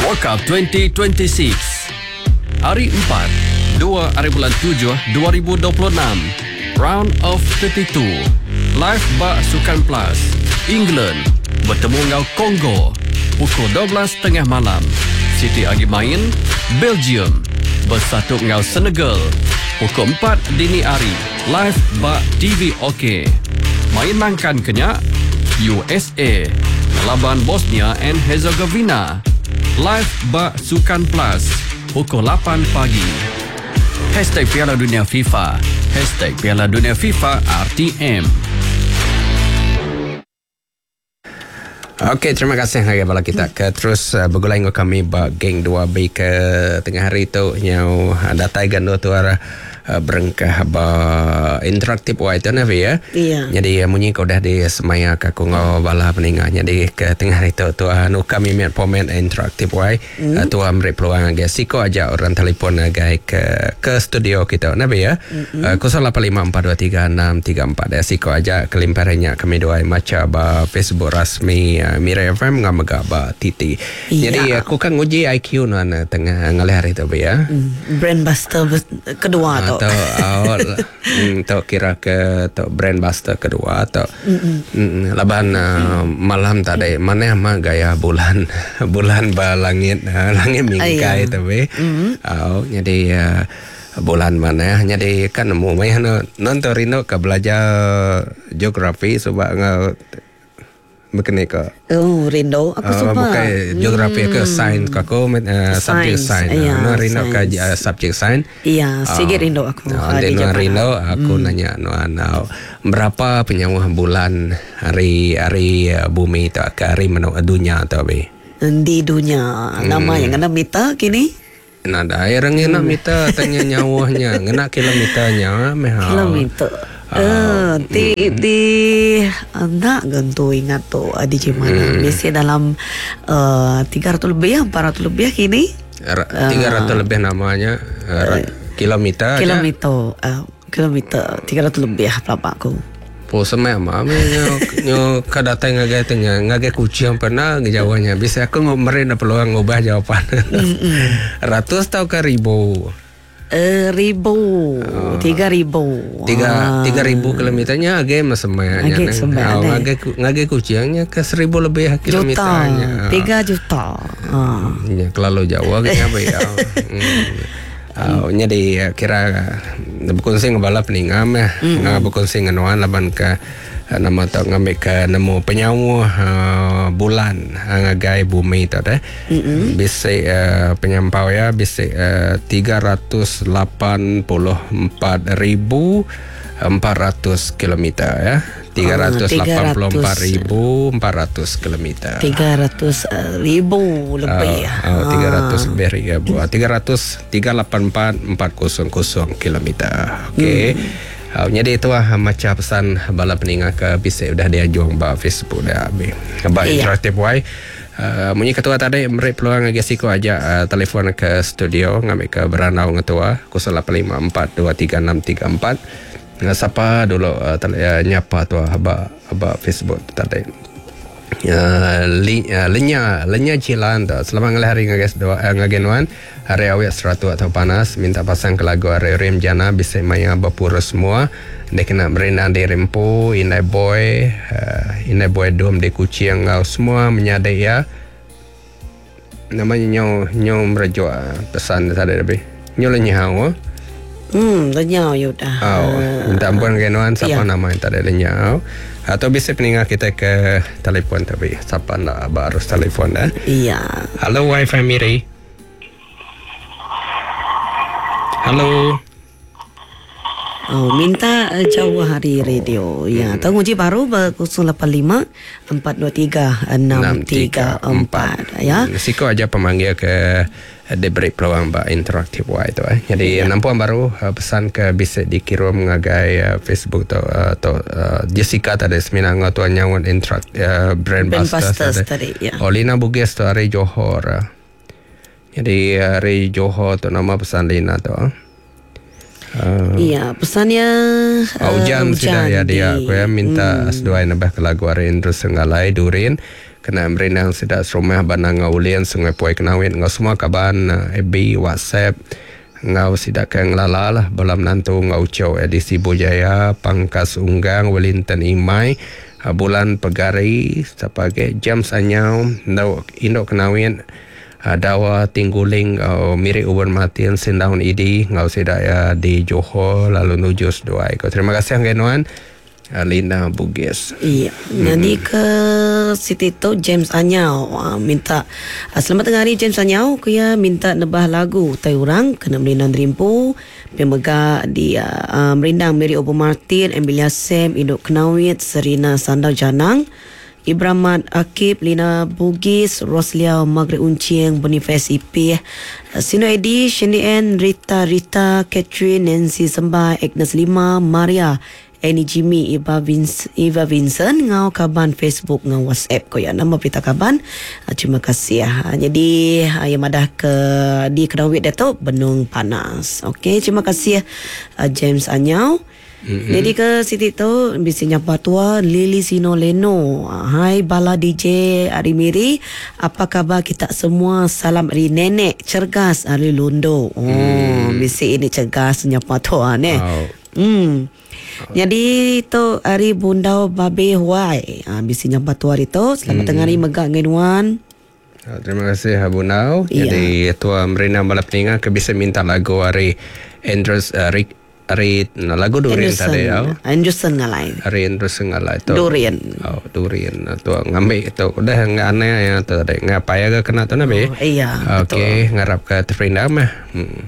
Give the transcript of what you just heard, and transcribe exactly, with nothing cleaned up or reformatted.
World Cup twenty twenty-six. Hari empat, dua hari bulan tujuh dua ribu dua puluh enam. Round of thirty-two. Live ba Sukan Plus. England bertemu dengan Congo pukul dua belas tiga puluh malam. City agi main Belgium bersatu dengan Senegal pukul empat dini hari. Live ba T V OK. Main nangkan kenyak U S A laban Bosnia and Herzegovina. Live ba Sukan Plus pukul lapan pagi. Hashtag Piala Dunia FIFA. Hashtag Piala Dunia FIFA R T M. Okey, terima kasih lagi bala kita ke terus uh, bergulai dengan kami ba geng dua B ke tengah hari tu nyau datai gando tu arah uh, berengkah ba interaktif wai tu nabi ya. Iya. Jadi uh, munyi kau dah di semaya ka ku ngau bala peninga. Jadi ke tengah hari tu tu uh, nu kami miat pomen interaktif wai mm. uh, tu amri peluang agi siko aja orang telefon agai ke ke studio kita nabi ya. Mm-hmm. Uh, kosong lapan lima empat dua tiga enam tiga empat ya siko aja kelimparannya kami dua maca ba Facebook rasmi uh, Miri F M ngam mega ba T T. Iya. Jadi aku kan nguji I Q nuan tengah ngalih hari tu ya. Mm, brand buster kedua tu. Atau oh, mm, tu kira ke tu brand buster kedua atau mm, laban uh, malam tadi mana mah gaya bulan bulan ba langit uh, langit mingkai tapi. Oh, jadi uh, bulan mana jadi kan nemu mai nonton rindu ke belajar geografi sebab ngau berkena ke? Oh, rindu aku uh, suka. Bukan geografi ke sains ke aku uh, subjek sains. Ya, no rindu ke uh, subjek sains. Iya, sikit rindu aku. Uh, uh, no, rindu aku hmm. nanya no, no, berapa penyawah bulan hari hari uh, bumi tu ke hari menu dunia tu be? Di dunia. Hmm. Nama yang kena meter kini? Nada, air ngena meter tanya nyawahnya, ngena kilometernya meh. Kilometer. Uh, di mm. di nak gentu ingat tu di mana hmm. biasa dalam uh, tiga ratus lebih empat ratus lebih kini tiga ratus uh, lebih namanya uh, kilometer kilometer uh, kilometer tiga ratus lebih berapa aku po semai mah nyo nyo kadatang ngagai tanya ngagai kucing pernah jawabnya bisa aku ngomren peluang ngubah jawapan ratus tau ke ribu. Uh, ribu, oh. tiga ribu, tiga ah. tiga ribu kilometernya agak masemanya, agak semaya, agak ngage kucingnya ke seribu lebih kilometernya, juta, tiga juta, ah. Ya, terlalu jauh agaknya apa ya? Oh, jadi kira berkongsi dengan bala peninga meh, mm. berkongsi dengan nuan laban ke nama tu ngambil ke nemu penyawa uh, bulan uh, ngagai bumi tu deh. Mm-hmm. Bisik uh, penyampau ya bisik uh, tiga ratus lapan puluh empat ribu empat ratus kilometer ya. tiga ratus lapan puluh empat ribu empat ratus kilometer. tiga ratus ribu lebih. Oh, oh, tiga ratus lebih ribu. tiga ratus tiga lapan empat empat kosong kosong kilometer. Okey. Hmm. Uh, jadi itu lah macam pesan bala peninga ke bisik dah dia juang ba Facebook dah habis. Ba interaktif wai. Uh, munyi ketua tadi beri peluang lagi siko aja uh, telefon ke studio ngambil ke beranau ngetua kosong lapan lima empat dua tiga enam tiga empat. Siapa dulu uh, tele, uh, nyapa tu aba aba Facebook tadi. Uh, li, uh, lenya lenya cilan tu. Selamat ngalih hari ngages dua uh, ngagenuan. Hari awet seratu atau panas minta pasang ke lagu hari Rim Jana bisa maya berpurus semua. Dia kena berina di Rempu, Inai Boy, uh, Inai Boy Dom di Kuching ngau semua menyadai ya. Namanya nyo nyo merejuk pesan tadi lebih. Nyo lenyau. Hmm, lenyau ya dah. Oh, minta ampun kenuan siapa ya. Nama yang tadi lenyau. Atau bisa peningat kita ke telefon tapi siapa nak baru telefon dah. Iya. Halo Wi-Fi Miri. Halo. Oh, minta uh, jauh hari radio. Ya, hmm. Tahu kunci baru kosong lapan lima empat dua tiga enam tiga empat ya. Siko aja pemanggil ke diberi peluang ba interaktif wa itu eh. Jadi ya. Nampuan baru pesan ke bisa dikirim ngagai uh, Facebook atau atau uh, Jessica tadi seminang tuan nyawan interak uh, brand, brand Busters, Busters tadi ya. Olina Bugis tu hari Johor. Jadi hari Johor tu nama pesan Lina tu. Uh, iya, pesannya uh, hujan sudah ya dia. Aku ya minta hmm. seduai nambah ke lagu hari Indra Senggalai Durin Kena merindang sida serumah Banang Ulin Sungai Puai Kenawit ngau semua kaban F B, WhatsApp ngau sida ke ngelala lah bala menantu ngau ucau edisi Bujaya, Pangkas Unggang, Wellington Imai, Bulan Pegari, siapa lagi James Anyau, Induk Induk Kenawit, Dawa Tingguling, uh, Miri Uber Martin, Sindaun Idi ngau sida ya di Johor lalu nuju seduai. Terima kasih ngai nuan. Lina Bugis. Iya. Hmm. Jadi ke Siti tu James Anyau uh, minta uh, selamat tengah hari James Anyau, ku ya minta nebah lagu tai orang kena merindang rimpu pemega di uh, uh, merindang Mary Obo Martin, Emilia Sam, Induk Kenawit, Serina Sandau Janang, Ibramat Akib, Lina Bugis, Roslia Margaret Uncing, Boniface Ipih, Sino Edi, Shani N, Rita Rita, Catherine, Nancy Sembai, Agnes Lima, Maria, Annie Jimmy, Eva, Vince, Eva Vincent, ngau kaban Facebook, ngau WhatsApp ko ya. Nama pita kaban. Terima kasih ya. Jadi yang madah ke di Kenawit dia tu benung panas. Okey, terima kasih James Anyau. Mm-hmm. Jadi ke Siti tu bisi nyapa tua Lily Sino Leno. Hai bala D J Ari Miri, apa khabar kita semua? Salam dari nenek cergas Ari Londo. Oh, mm. bisi ini cergas nyapa tua ne. Oh. Hmm. Jadi tu hari Bundau Babe Huai. Ha, bisi nyapa tua hari tu. Selamat hmm. tengah hari megak ngenuan. Terima kasih Bundau. Ya. Jadi tua Merina bala peninga ke bisa minta lagu hari Andrews uh, Rick hari nah, lagu Durian tadi ya. Anderson ngalai. Hari Anderson ngalai tu. Durian. Oh, durian tu ngambil tu udah enggak aneh ya tu tadi. Ngapai agak kena tu nabi. Oh, iya. Okey, ngarap ke terperindam mah. Hmm.